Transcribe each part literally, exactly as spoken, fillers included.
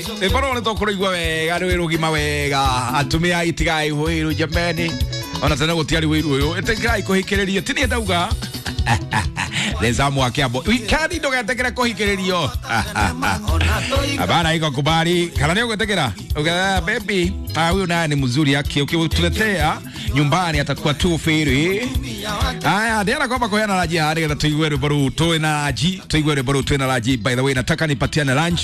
Rwĩmbo rũrũ nĩ tũkũrũigua wega rwĩ rũgima wega atumia itigai wĩiru jameni ona tene gũtiarĩ wĩiru ũyũ ĩtĩkirai kũhikĩrĩrio ti niĩ ndauga Lezamu wa Kiambu wikendi ndũgetĩkĩre kũhikĩrĩrio Abana iko kubali kana nĩ ũgwĩtĩkĩra Uga baby ah, huyu naye ni mzuri yake ukituletea nyumbani atakuwa tu firi. Haya, ndĩrenda kwamba kuheana raji haha nĩgetha tũigue rwĩmbo rũu twĩna raji tũigue rwĩmbo rũu twĩna raji. By the way, nataka nipatiane lunch.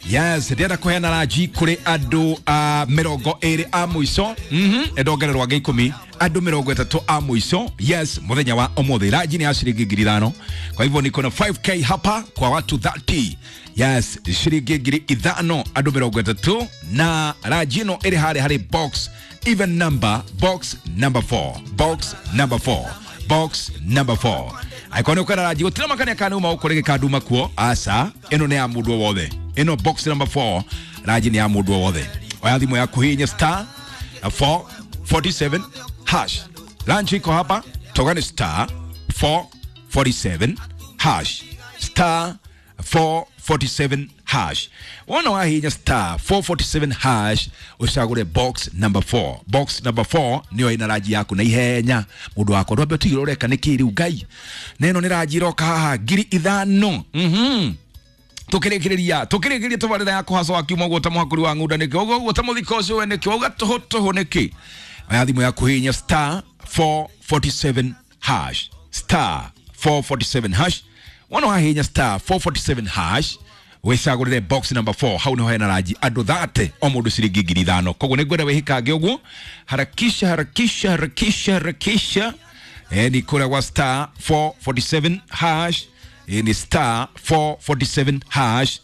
Yes, ndĩrenda kũheana ranji kũrĩ andũ a mĩrongo ĩrĩ a mũico. Mhm, ndongererwo angĩ ikũmi andũ mĩrongo ĩtatũ a mũico. Yes, mũthenya wa ũmũthĩ ranji nĩ ya ciringi ngiri ithano, kwa hivyo niko na five k hapa kwa watu thirty. Yes, ciringi ngiri ithano andũ mĩrongo ĩtatũ na ranji ĩno ĩrĩ harĩa harĩ box even number, box number four, box number four, box number four. Angĩkorwo nĩ ũkwenda ranji gũtirĩ makania kana uma gũkũ rĩngĩ kanduma kuo aca ĩno nĩ ya mũndũ o wothe. Ĩno box number four ranji nĩ ya mũndũ o wothe. Oya thimũ yaku hihinya star four forty-seven hash. Lunch iko hapa toka ni star four forty-seven hash, star four forty-seven hash. Wona wahinya star four forty-seven hash ucagure box number four. Box number four niyo ina raji yaku na ihenya mundu wakwa ndwambe utigire ureka niki riu ngai neno ni raji iroka haha ngiri ithano. Mhm, tukirikiriria tukirikiriria tabarĩra ya kũhaca wa kiumia ũguo ta mũhakũri wa ng'unda nĩkĩ ũguo ũguo ta mũthiko ũcio we nĩkĩ wauga tũhũ tũhũ nĩkĩ. Oya thimũ yaku hihinya star four forty-seven hash, star four forty-seven hash. Wona wahihinya star four forty-seven hash wĩcagũrĩre box number four hau nĩho hena ranji andũ thate o mũndũ ciringi ngiri ithano. Koguo nĩngwenda wĩhikange ũguo harakisha harakisha harakisha harakisha. Eh, ni kũrĩa gwa star four forty-seven hash. Eh, ni star four forty-seven hash.